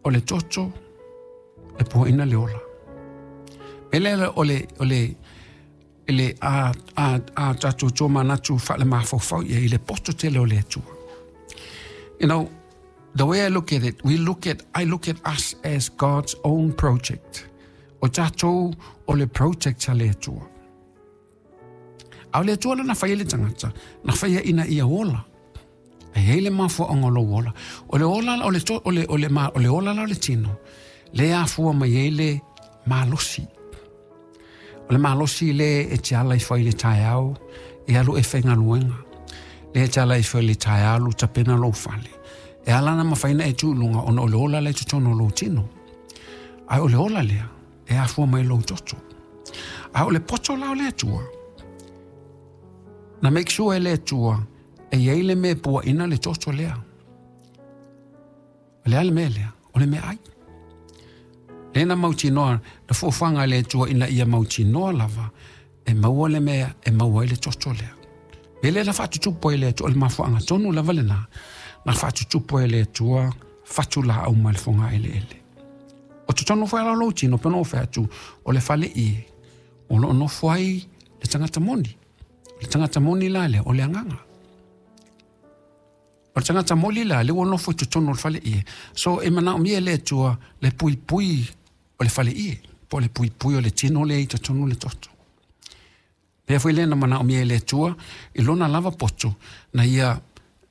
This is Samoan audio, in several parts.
O le toto e puaina le ola. Me lea o le, o le, le a, a, a tatou tomanatu faale-mafaufau ia i le poto tele o le Atua. You know, the way I look at it, we look at, I look at us as God's own project. O tatou o le project a le Atua. A o le Atua la na faia le tagata, na faia ina ia ola. E i ai le mafuaaga o lou ola. O le ola o le to, o le, o le, ma, o le ola la o le tino, le afua mai ai le malosi. O le malosi le e te ala ifo ai le taeao, e alu e faigaluega. Le e te ala ifo i le taeao alu tapena lou fale. E ala na mafai ona e tu i luga ona o le ola la i totonu o lou tino. Ae o le ola lea, e afua mai lou toto. A o le poto la o le Atua, na make sure e le Atua e i ai le mea e puaina le toto lea. O le a le mea lea? O le meaai. Lea na mautinoa, na fuafuaga a le Atua ina ia mautinoa lava e maua le mea e maua ai le toto lea. Mea lea na faatutupu ai e le Atua, o le mafuaaga tonu lava lena, na faatutupu ai e le Atua fatu laau mai le fogaeleele. O totonu foi la o lou tino, pei ona ou fai atu, o le fale ie, o lo o nofo ai le tagata moni. O le tagata moni la lea, o le agaga. O le tagata moli la, lea ua nofo i totonu o le fale ie. So e manaomia e le Atua le puipui o le fale ie, po o le puipui o le tino lea i totonu o le toto. Pea foi lea na manaomia e le Atua i lona lava poto na ia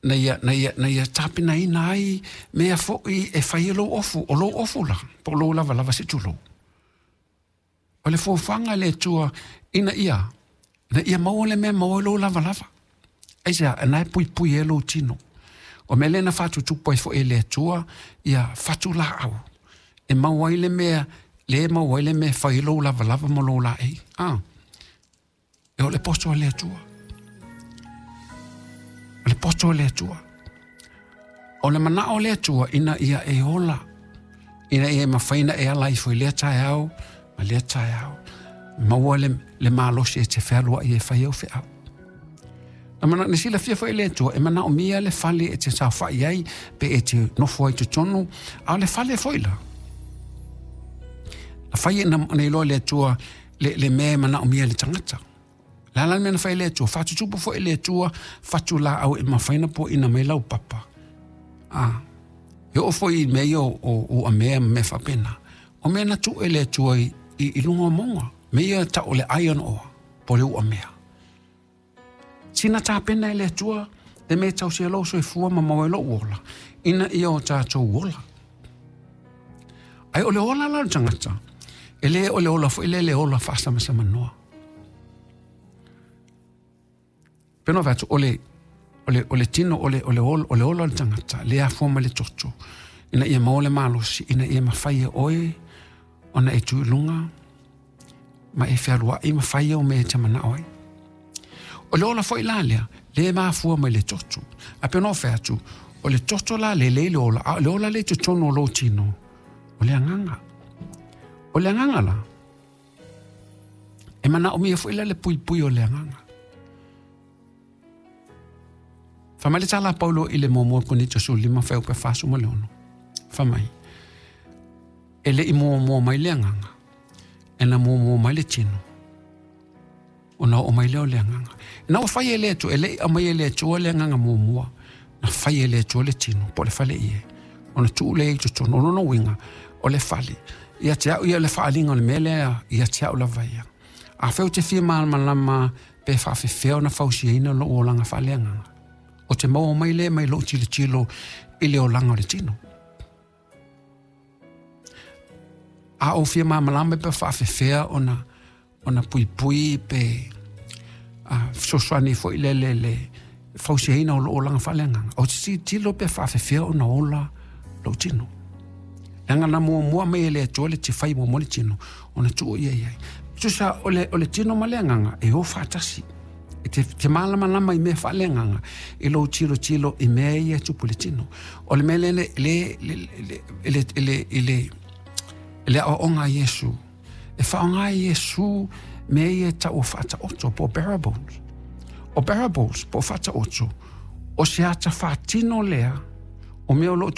na ia, na ia, na ia tapenaina ai mea foi e fai ai lou ofu, o lou ofu la, po o lou lavalava se i tulou. O le fuafuaga a le Atua ina ia, ina ia maua le mea e maua ai lou lavalava. Aisea? Na e puipui ai lou tino. O mea lea na faatutupu ai foi e le Atua ia fatu laau e maua ai le mea, le maua ai le mea e fai ai lou lavalava ma lou laei. Ah. E o le poto a le Atua. O le poto a le Atua. O le manao o le Atua ina ia e ola, ina ia e mafai ona e ala ifo i lea taeao ma lea taeao. Maua le, le malosi e te fealuai e fai au feau. Na, mana, na silafia foi e le Atua, e manaomia le fale e te saofai ai, pe e te nofo ai totonu, a o le fale foi la. Na fai e na, na iloa le Atua le, le mea e manaomia e le tagata. Le a la le mea na fai e le Atua? Faatutupu foi e le Atua fatu laau e mafai ona puaina mai lau papa. A, e oo foi i mea ia o, o uamea ma mea faapena. O mea na tuu e le Atua i, i, i luga o mauga. Mea ia tau o le iron ore, po o le uamea. Sina tapena e le Atua le mea e tausia lou soifua ma maua ai lou ola, ina ia o tatou ola. Ae o le ola la o le tagata, e le o le ola foi lea le ola faasamasamanoa. Pei ona fai atu, o le, o le, o le tino, o le, o le ola, o le ola o le tagata, le afua mai le toto, ina ia maua le malosi, ina ia mafai e oe ona e tu i luga, ma e fealuai ma fai au mea e te manao ai. O le ola foi la lea, le mafua mai le toto. Ae pei ona ou fai atu, o le toto la le lei le ola, a o le ola lea i totonu o lou tino, o le agaga. O le agaga la, e manaomia foi la le puipui o le agaga. Fai mai le tala a Paulo i le muamua Korinito 15 fuaiupu 46. Fai mai, e le i muamua mai le agaga, e na muamua mai le tino, ona oo mai lea o le agaga. Ina ua fai e le Atua, e le i aumaia e le Atua le agaga muamua, na fai e le Atua le tino, po o le fale ie, ona tuu lea i totonu. O lona uiga, o le fale, ia te au ia le faaaliga o le mea lea, ia te au lava ia. Afai ou te fia malamalama pe faafefea ona fausiaina lou olaga faaleagaga, o te maua mai lea mai lou tilotilo i le olaga o le tino. A ou fia malamalama pe faafefea ona ona puipui pe a fesoasoani foi le le le fausiaina o lou olaga faaleagaga, ou te tilotilo pe faafefea ona ola lou tino. Leaga na muamua mai e le Atua le te fai muamua le tino, ona tuu ia i ai. Tusa o le, o le tino ma le agaga e o faatasi. E te, te mālamalama i mea faaleagaga i lou tilotilo i mea ia e tupu i le tino. O le mea lea le, le, le, le, le, le, le, le aoaoga a Iesu. E faaaoga e Iesu mea ia e tau o faataoto po o parables. O parables po o faataoto, o se ata faatino lea o mea o lo o